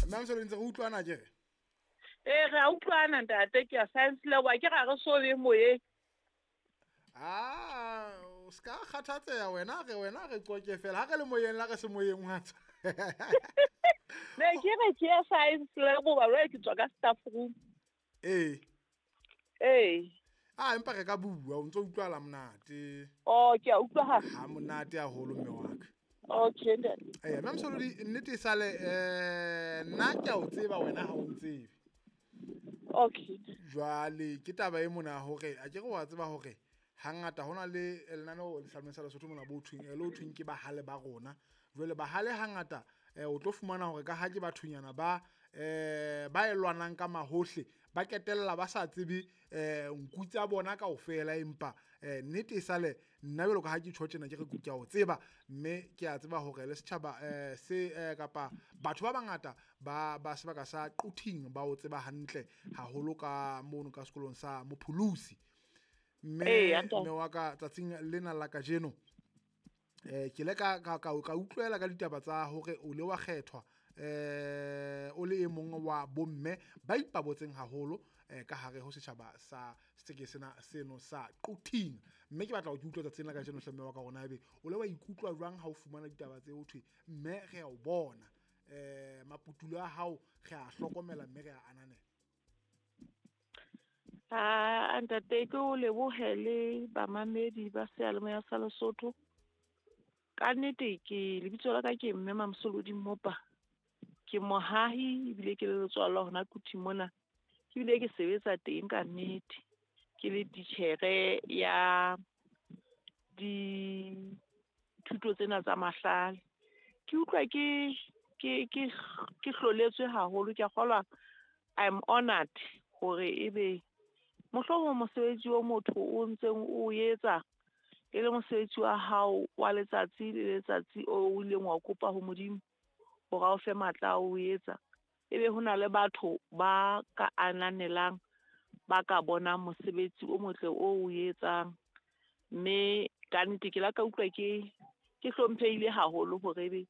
Mme Msolodi, ntse re utlwana ke re? Ee, re a utlwana ntate, ke ya science lab, ke ra re so be moyeng. Ah, o ska kgathatseha wena, re wena re qoke fela. Ha re le moyeng la re se moyeng wa tswa. Ne ke re ke ya science lab hoba jwale ke tswa ka staff room. Ee. Ee. Ah, empa re ka bua, o ntso utlwala monate. Oh, ke a utlwahala. Ha monate haholo mme wa ka. Okay, ntate. Eh, mme Msolodi, nnete e sale, nna ke a o tseba wena ha o ntsebe. Okay. Jwale ke taba e mona hore a ke re wa tseba hore hangata hona le lenaneo le sa Lesotho mona bo thweng, le ho thweng ke bahale ba rona. Jwale bahale hangata o tlo fumana hore ka ha ke bathonyana ba ba e lwanang ka mahohle, ba ketella ba sa tsebe nku tsa bona kaofela, empa nnete e sale nna jwalo ka ha ke tjho tjena ke re ke a o tseba, mme ke a tseba hore le setjhaba se kapa batho ba bangata ba ba sebaka sa Quthing ba o tseba hantle haholo ka mono ka sekolong sa Mopholosi. Mme mme wa ka tsatsing lena la kajeno ke le ka ka utlwela ka ditaba tsa hore o le wa kgethwa o le e mong wa bomme ba ipabotseng haholo ka hare ho setjhaba sa seke sena seno sa Quthing. Mme ke batla ho ke utlwa tsatsing la kajeno hle mme wa ka rona ebe o le wa ikutlwa jwang ha o fumana ditaba tse ho thwe mme re a o bona, maputulo a hao re a hlokomela mme re a ananela. Ah, ntate, ke o lebohe le bamamedi ba seyalemoya sa Lesotho. Ka nnete ke lebitso la ka ke mme Mamsolodi Mmopa. Ke mohahi ebile ke le letswalo hona Quthing mona. Ke bile ke sebetsa teng ka nnete. Ke le titjhere ya dithuto tsena tsa mahlale. Ke utlwa ke ke ke ke hloletswe haholo, ke a kgolwa I'm honored hore ebe mohlomong mosebetsi o motho o ntseng o etsa e le mosebetsi wa hao wa letsatsi le letsatsi o ileng wa kopa ho Modimo hore a o fe matla a o etsa, ebe hona le batho ba ka ananelang, ba ka bonang mosebetsi o motle o o etsang. Mme ka nnete ke la ka utlwa ke ke hlomphehile haholo hore ebe